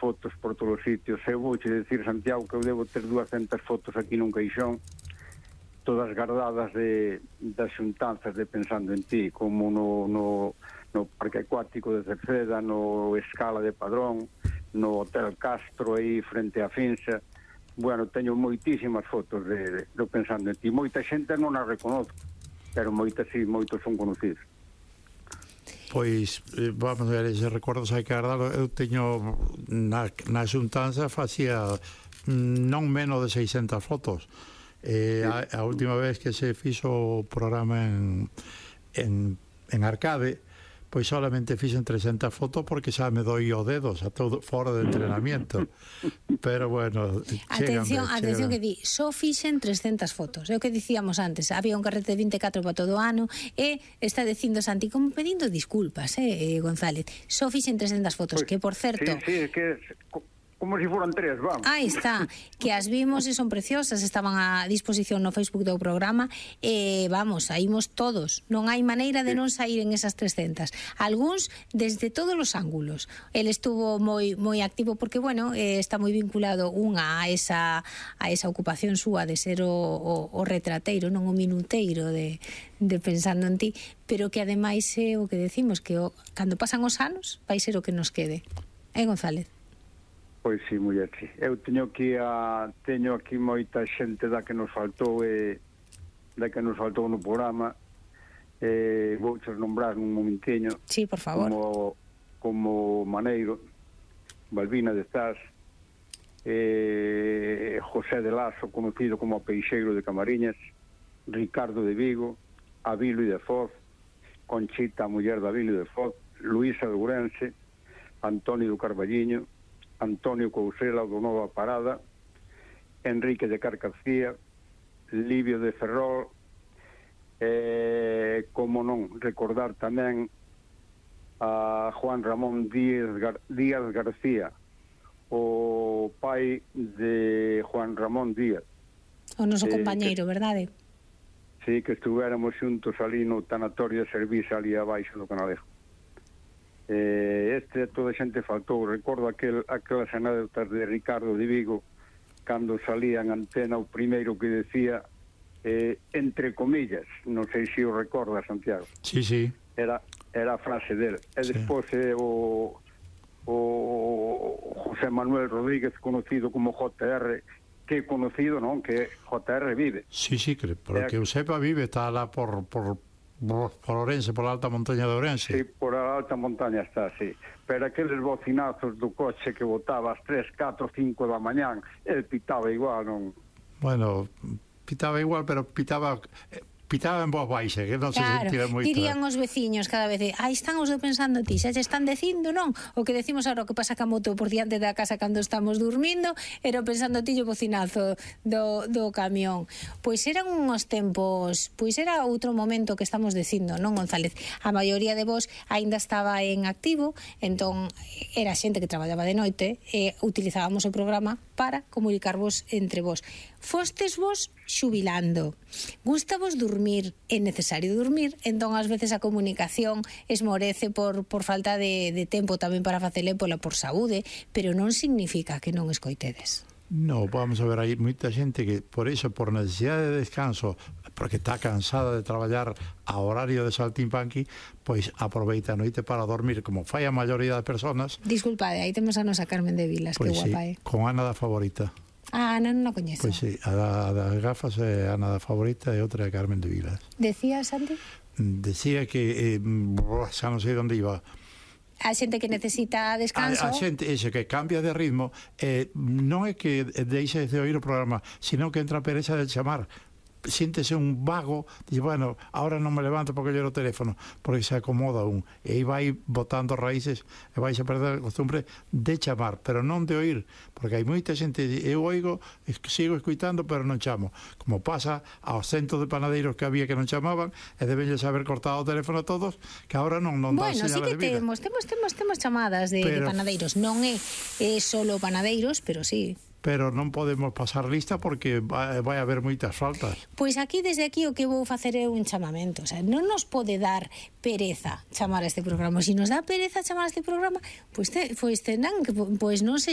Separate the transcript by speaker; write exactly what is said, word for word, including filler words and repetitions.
Speaker 1: fotos por todos os sitios. Eu vou che decir, Santiago, que eu debo ter duascentas fotos aquí nun caixón, todas guardadas de, das xuntanzas de Pensando en Ti, como no, no, no Parque Acuático de Cerceda, no Escala de Padrón, no Hotel Castro aí frente a Finsa. Bueno, teño moitísimas fotos de, de, de Pensando en Ti. Moita xente non as reconozco, pero moitas sí, moitos son conocidos.
Speaker 2: Pois, vamos ver, ese recordos hai que guardalo. Eu teño na, na xuntanza facía non menos de seiscentas fotos. Eh, a, a última vez que se fixo o programa en, en, en Arcade, pois solamente fixen trescentas fotos porque xa me doi o dedos a todo fora de entrenamiento. Pero bueno,
Speaker 3: atención,
Speaker 2: chegan,
Speaker 3: atención
Speaker 2: chegan.
Speaker 3: Que di, só fixen trescentas fotos. É o que dicíamos antes, había un carrete de vinte e catro para todo o ano e está dicindo Santi como pedindo disculpas, eh, González. Só fixen trescentas fotos, pues, que por certo...
Speaker 1: Sí, sí, que... como se foran tres, vamos.
Speaker 3: Aí está, que as vimos e son preciosas, estaban a disposición no Facebook do programa e vamos, saímos todos, non hai maneira de non sair en esas trescentas. Algúns desde todos os ángulos. El estuvo moi moi activo porque, bueno, eh, está moi vinculado unha a esa a esa ocupación súa de ser o, o, o retrateiro, non o minuteiro de, de Pensando en Ti, pero que ademais é o que decimos, que o, cando pasan os anos vai ser o que nos quede. Eh, González?
Speaker 1: Pois sí, muller, sí. Eu teño aquí a teño aquí moita xente da que nos faltou e da que nos faltou no programa. Eh, vou che nombrar un momentiño.
Speaker 3: Sí, por favor.
Speaker 1: Como como Maneiro, Balbina de Zas, eh, José de Lazo, conocido como Peixeiro de Camariñas, Ricardo de Vigo, Avilo de Foz, Conchita, a muller de Avilo de Foz, Luisa de Ourense, Antonio do Carballiño, Antonio Cousela do Nova Parada, Enrique de Carcacía, Livio de Ferrol, eh, como non recordar tamén a Juan Ramón Díaz, Gar Díaz García, o pai de Juan Ramón Díaz.
Speaker 3: O noso
Speaker 1: eh,
Speaker 3: compañeiro,
Speaker 1: que,
Speaker 3: verdade?
Speaker 1: Sí, que estuvéramos xuntos ali no tanatorio de servicio ali abaixo do Canalejo. Eh, este toda a xente faltou. Recordo aquel, aquelas anécdotas de Ricardo de Vigo cando salía en antena o primeiro que decía eh, entre comillas, non sei se o recorda, Santiago.
Speaker 2: Sí, sí.
Speaker 1: Era, era a frase del. E sí. Despois eh, o, o José Manuel Rodríguez, conocido como J R, que conocido, non? Que J R vive.
Speaker 2: Sí, sí, que, porque eu sepa vive, está lá por... por... por Ourense, por a alta montaña de Ourense.
Speaker 1: Sí, por a alta montaña está, sí. Pero aqueles bocinazos do coche que botaba ás tres, catro, cinco da mañán, el pitaba igual, non?
Speaker 2: Bueno, pitaba igual, pero pitaba... pitaba en voz baixa, que non se
Speaker 3: claro,
Speaker 2: sentía moito.
Speaker 3: Dirían os veciños cada vez, aí están os de Pensando en Ti, xa se están dicindo, non? O que decimos agora, o que pasa ca moto por diante da casa cando estamos dormindo, era Pensando en Ti o bocinazo do, do camión. Pois eran uns tempos, pois era outro momento que estamos dicindo, non, González? A maioría de vos aínda estaba en activo, entón era xente que traballaba de noite e utilizábamos o programa para comunicarvos entre vos. Fostes vos xubilando, gusta vos dormir, é necesario dormir, entón ás veces a comunicación esmorece por, por falta de, de tempo tamén para facele pola por saúde, pero non significa que non escoitedes.
Speaker 2: No, vamos a ver, hai moita xente que por iso, por necesidade de descanso, porque está cansada de traballar a horario de saltimpanqui, pois aproveita a noite para dormir, como fai a maioría de personas.
Speaker 3: Disculpade, aí temos a nosa Carmen de Vilas,
Speaker 2: pois
Speaker 3: que guapa
Speaker 2: sí,
Speaker 3: é.
Speaker 2: Con Ana da Favorita.
Speaker 3: Ah, Ana non a coñezo.
Speaker 2: Pois sí, a da, a da gafas é Ana da Favorita e outra é Carmen de Vilas.
Speaker 3: Decía, Santi?
Speaker 2: Decía que, eh, xa non sei onde iba,
Speaker 3: a xente que necesita descanso.
Speaker 2: A, a xente ese que cambia de ritmo, eh, non é que deixe de oír o programa, sino que entra a pereza de chamar. Siéntese un vago, dice, bueno, ahora non me levanto porque lloro o teléfono, porque se acomoda un, e aí vai botando raíces e vais a perder a costumbre de chamar, pero non de oír, porque hai moita xente, eu oigo, sigo escuitando, pero non chamo, como pasa aos centos de panadeiros que había que non chamaban, e debelles haber cortado o teléfono a todos, que agora non, non dan
Speaker 3: bueno,
Speaker 2: señales
Speaker 3: sí que
Speaker 2: de vida.
Speaker 3: Temos, temos, temos, temos chamadas de, pero, de panadeiros, non é, é solo panadeiros, pero sí.
Speaker 2: Pero non podemos pasar lista porque vai, vai haber moitas faltas.
Speaker 3: Pois aquí, desde aquí, o que vou facer é un chamamento. O sea, non nos pode dar pereza chamar a este programa. Se nos dá pereza chamar a este programa, pois, te, pois tenán que, pois non sei